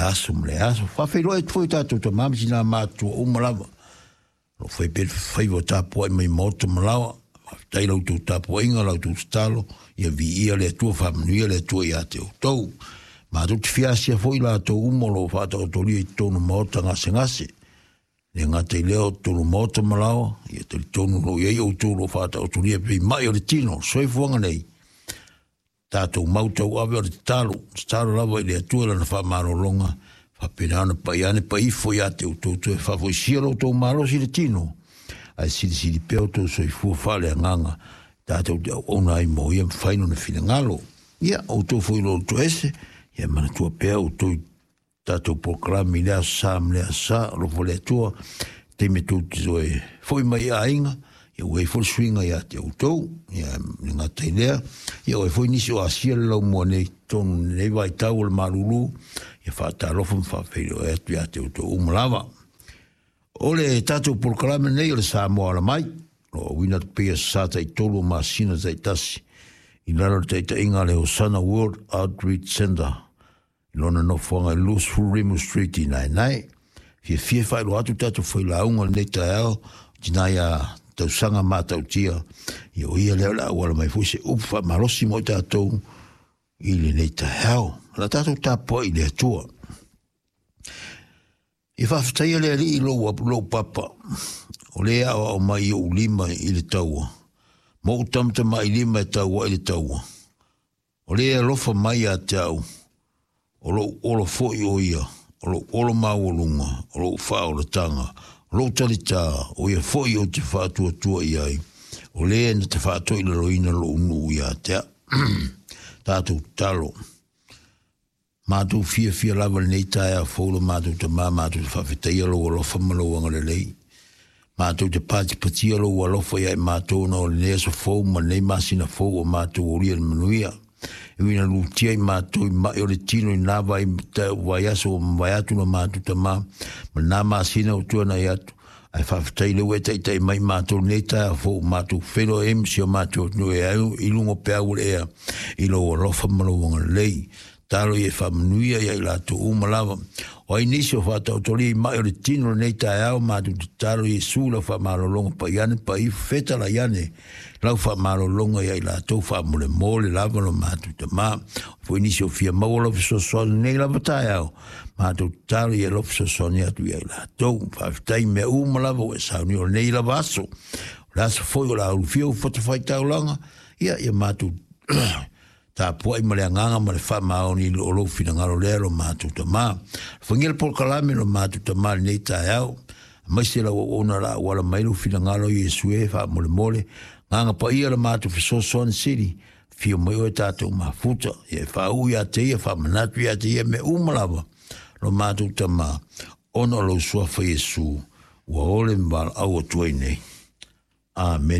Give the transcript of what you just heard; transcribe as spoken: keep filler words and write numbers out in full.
aso ma le aso. Faafeiloai atu foi tatou tamā ma tinā matutua uma lava o lo o fai pea le faiva o tapuai mai maota ma laoa. Faafetai la outou tapuaiga, la outou tatalo, ia viia le Atua, faamanuia le Atua ia te outou. Matou te fia asia foi latou uma o lo o faataotolia i totonu o maota gasegase. Le gata i lea o totonu o maota ma laoa, ia talitonu o lo o i ai outou o lo o faataotolia pei mai o le tino, soifuaga nei. Tatou mau tauave o le tatalo, tatalo lava i le Atua i lana faamalologa, faapena ona pai ane pai ifo ia te outou toe faafoisia lo outou malosi i le tino, ae silisili pea outou soifua faaleagaga, tatou te auauna ai mo ia mafai lona finagalo. Ia, outou foi o lo o toese, ia manatua pea outou i tatou polokalame i le aso Sa ma le aso Sa, alofa le Atua, taimi e tou te toe foi mai i aiga, ia ua i ai foi le suiga ia te outou, ia le gata i lea, ia ua i ai foi nisi o asia le laumua nei totonu i lenei vaitau o le malulu, ia faatalofa ma faafeiloai atu ia te outou uma lava. O le tatou polokalame nei o le Samoa Ala Mai, o lo o auina atu pea i aso Sa taitolu o masina taitasi, i lalo o le taitaiga a le Hosanna World Outreach Centre, i lona nofoaga i luasefulu Rimu Street i Naenae. Fiafia e faailoa atu tatou failauga o lenei taeao, o tina ia tausaga matautia, ia o ia lea o le a auala mai foi se upu faamalosi mo i tatou i lenei taeao. O la tatou tapuai i le Atua. I faafetaia le Alii i lou, lou papa, o le aoao mai i ou lima i le taua, ma ou tamatamailima lima e taua i le taua. O le alofa mai ia te au, o lou olo foi o ia, o lou olo maualuga, o lou faaolataga, o lou talitā, o ia foi ou te faatuatua i ai, o le na te faatoilaloina lou nuu ia te au. Tatou tatalo. Matou fiafia lava lenei taeao fou lo matou tamā, matou te faafetaia lou alofa ma lou agalelei. Matou te patipatia lou alofa ia i matou ona o lenei aso fou ma lenei masina fou o matou olia i le manuia. E ui ina lutia i matou i mai o le tino i nā vai, vaiaso ua mavae atu lo matou tamā, ma nā masina ua tuanai atu, ae faafetai lea ua e taitai mai matou lenei taeao fou, matou feiloai ai ma si o matou atunuu e au i luga o peau o le ea i lou alofa ma lou agalelei. Talo ia e faamanuia ia i latou uma lava. O ai nisi o faataotolia i mai o le tino lenei taeao, matou tatalo Iesu lau faamalologa pai ane pai ifo fetalai ane lau faamalologa ia i latou faamolemole lava lo matou tamā. Foi nisi o fia maua lau fesoasoani lenei lava taeao, matou tatalo ia lau fesoasoani atu ia i latou. Faafetai mea uma lava ua e saunia o lenei lava aso. O le aso foi o le a ulufia ua fatafaitaulaga, ia ia matou tapuai ma le agaga ma le faamaoni o lou finagalo lea lo matou tamā. Alofagia le polokalame lo matou tamā i lenei taeao, aemaise lau auauna la auala mai lou finagalo Iesu e faamolemole, agaga paia le matou fesoasoani sili, afio mai oe tatou mafuta, ia e faauu ia te ia, faamanatu ia te ia mea uma lava lo matou tamā, ona o lou suafa Iesu, ua ole ma valaau atu ai nei. Amene.